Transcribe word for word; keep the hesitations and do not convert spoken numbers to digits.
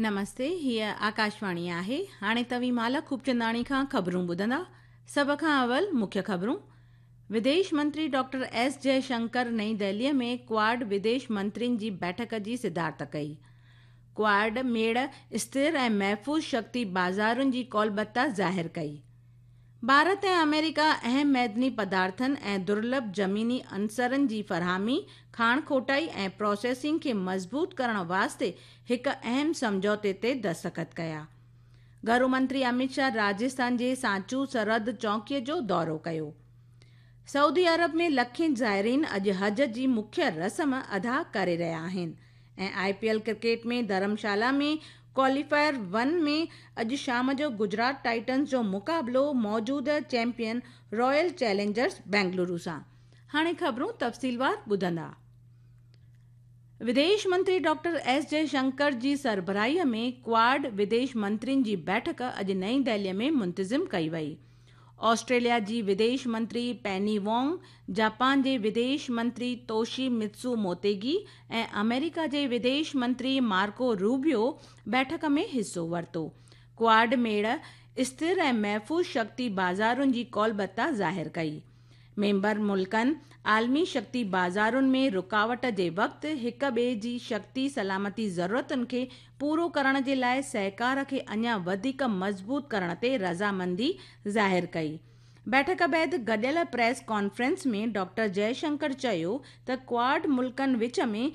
نمستي، هيءَ آڪاشواڻي آهي. هاڻي توهين مالا خوبچنداڻي کان خبرون ٻڌندا. سڀ کان اول مکيه خبرون. وديش منتري ڊاڪٽر ايس جئشنڪر نئين دهليءَ ۾ ڪواڊ وديش منترين جي بيٺڪ جي صدارت ڪئي. ڪواڊ ميڙ اسٿر ۽ محفوظ شڪتي بازارن جي ڪولبتا ظاهر ڪئي. ڀارت ۽ آمريڪا اهم معدني پدارٿن ۽ درلڀ زميني عنصرن جي فراهمي، کاڻ کوٽائي ۽ پروسيسنگ کي مضبوط ڪرڻ واسطي هڪ اهم سمجهوتي تي دستخط ڪيا. گهرو منتري امت شاهه راجسٿان جي سانچو سرحد چوڪيءَ جو دورو ڪيو. سعودي عرب ۾ لکين زائرين اڄ حج جي مکيه رسم ادا ڪري رهيا آهن. ۽ I P L cricket ۾ Dharamshala ۾ qualifier one ۾ اڄ شام جو گجرات ٽائٽنز جو مقابلو موجوده چيمپيئن رائل چئلينجرز بينگلورو سان. هاڻي خبرون تفصيلوار ٻڌندا. وديش منتري ڊاڪٽر ايس جئشنڪر جي سربراهيءَ ۾ ڪواڊ وديش منترين جي بيٺڪ اڄ نئين دهليءَ ۾ منتظم ڪئي وئي. آسٽريليا جي وديش منتري پيني وانگ، جاپان جي وديش منتري توشي متسو موتيگي ۽ آمريڪا جي وديش منتري مارڪو روبيو بيٺڪ ۾ حصو ورتو. ڪواڊ ميڙ اسٿر ۽ محفوظ شڪتي بازارن جي ڪولبتا ظاهر ڪئي. ميمبر ملڪن عالمي شڪتي بازارن ۾ رڪاوٽ جي وقت هڪ ٻئي جي شڪتي سلامتي ضرورتن کي پورو ڪرڻ جي لاءِ سهڪار کي اڃا وڌيڪ مضبوط ڪرڻ تي رضامندي ظاهر ڪئي. بيٺڪ بعد گڏيل پريس ڪانفرنس ۾ ڊاڪٽر جئشنڪر چيو ته ڪواڊ ملڪن وچ ۾